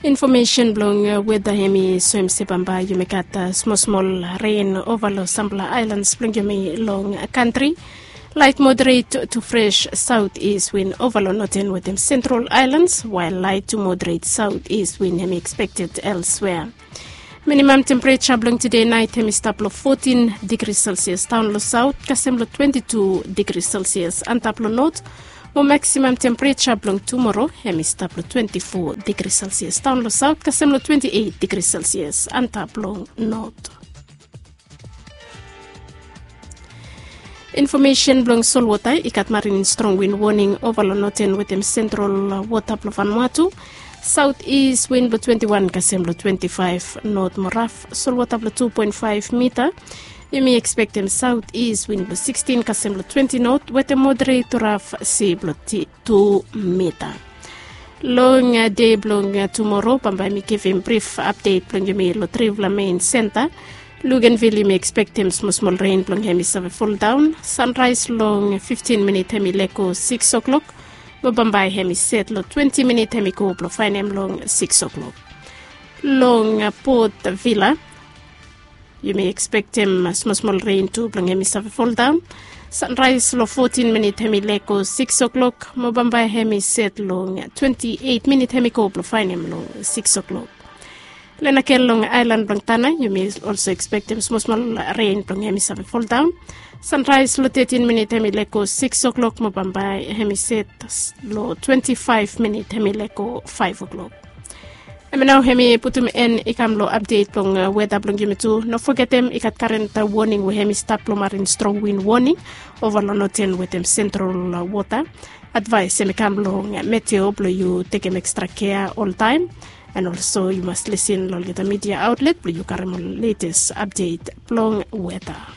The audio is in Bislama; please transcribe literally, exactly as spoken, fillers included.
Infomesen blong weda hem i soem se bambae yumi gat smosmol ren ova long sampela aelans blong yumi long kantri. Lait moderet tu fres saut is win ova long noten wetem sentral aelans, wael lait tu moderet saut is win hem i ekspekted elswea. Minimam tempereja blong tude nait hem i stap long fotin digri selsias daon long saut kasem long twenti tu digri selsias antap long not. Mo maksimam tempereja blong tumoro hem i stap long twenti fo digri selsias daon long saut kasem long twenti eit digri selsias antap long not. Infomesen blong solwota i gat marin strong win woning ova long noten wetem sentral wota blong Vanuatu. Saut is win blong twenti wan kasem long twenti faef, not mo raf solwota blong tu poen faef mita. Yumi ekspektem saut is win blong sikstin kasem long twenti not wetem moderet raf si blong tu mita. Long dei blong tumoro bambae mi givim brif apdet blong yumi long trifala mein senta. Lugenvil yumi ekspektem smosmol ren blong hem i save foldaon. Sanraes long fiftin minit hem i lego siks o'klok, mo bambae hem i set long twenti minit hem i go blong faenem long siks o'klok. Long pot vila yumi ekspektem smosmol ren tu blong hem i save foldaon. Sanraes long fotin minit hem i lego siks o'klok, mo bambae hem i set long twenti eit minit hem i go blong faenem long siks o'klok. Lenakel long aelan blong Tana yumi olso ekspektem smosmol ren blong hem i save foldaon. Sanraes long tetin minit hem i lego siks o'klok, mo bambae hem i set long twenti faef minit hem i lego faef o'klok. Em ya nao hem i putum en i kam long apdet blong weta blong yumi tu. No fogetem i gat karen woning we hem i stap long marin strong win woning ova long noten wetem sentral wota. Advaes hem i kam long meteo blong yu tekem ekstra kea oltaem. En olso yu mas lisin long olgeta midia aotlet blong yu karim ol letes apdet blong weta.